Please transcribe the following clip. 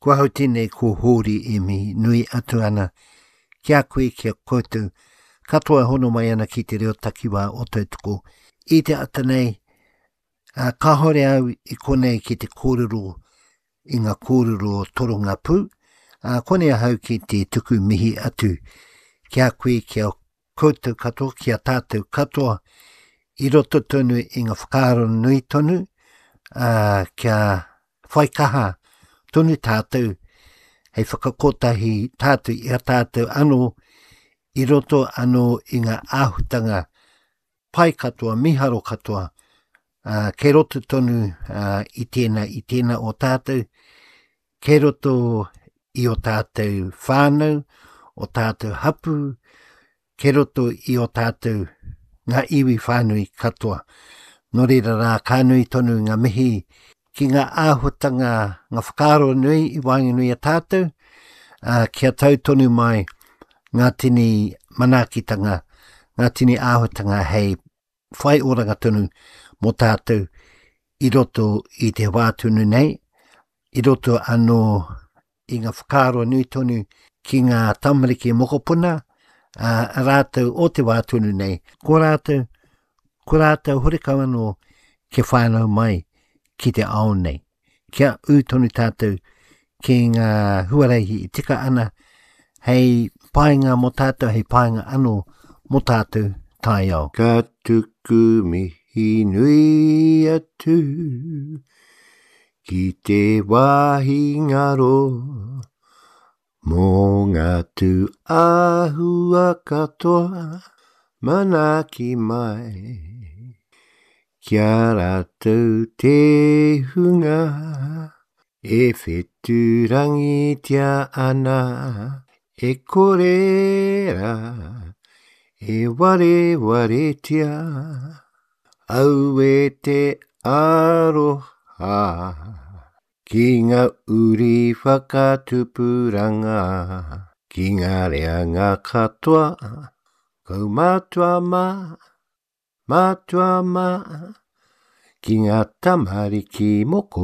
Ko ahau tēnei ko Hōri e mihi nui atu ana ki a koe, ki a koutou katoa e hono mai ana ki te reo takiwā o Tautoko. I te ata nei, ā, kāhore au i konei ki te kōrero i ngā kōrero torongapū, ā, konei ahau ki te tuku mihi atu ki a koe, ki a koutou katoa, ki a tātou katoa, i roto tonu i ngā whakaaro nui tonu, ā, kia whai kaha tonu tātou hei whakakotahi tātou i a tātou anō i roto anō i ngā āhutanga pai katoa, miharo katoa, ā, kei roto tonu ā, i tēnā, i tēnā o tātou, kei roto i o tātou whānau, o tātou hapū, kei roto i o tātou ngā iwi whānui katoa. Nō reira rā, ka nui tonu ngā mihi ki ngā āhuatanga, ngā whakaaro nui i waenganui a tātou, ā, kia tau tonu mai ngā tini manaakitanga, ngā tini āhuatanga hei whai oranga tonu mō tātou i roto i te wā tonu nei, i roto anō i ngā whakaaro nui tonu ki ngā tamariki mokopuna, ā, rātou o te wā tonu nei, ko rātou, ko rātou horekau anō kia whānau mai ki te ao nei. Kia ū tonu tātou ki ngā huarahi i tika ana hei painga mō tātou, hei painga anō mō tātou taiao. Ka tuku mihi nui atu Ki te wāhi ngaro mō ngā tū āhua katoa manaaki mai Ki a rātou te hunga e whetūrangitia ana E kore rā e warewaretia Aue te aroha ki nga uri whakatupuranga, ki nga reanga katoa, kaumatua ma, matua ma, ki nga tamariki mokopuna.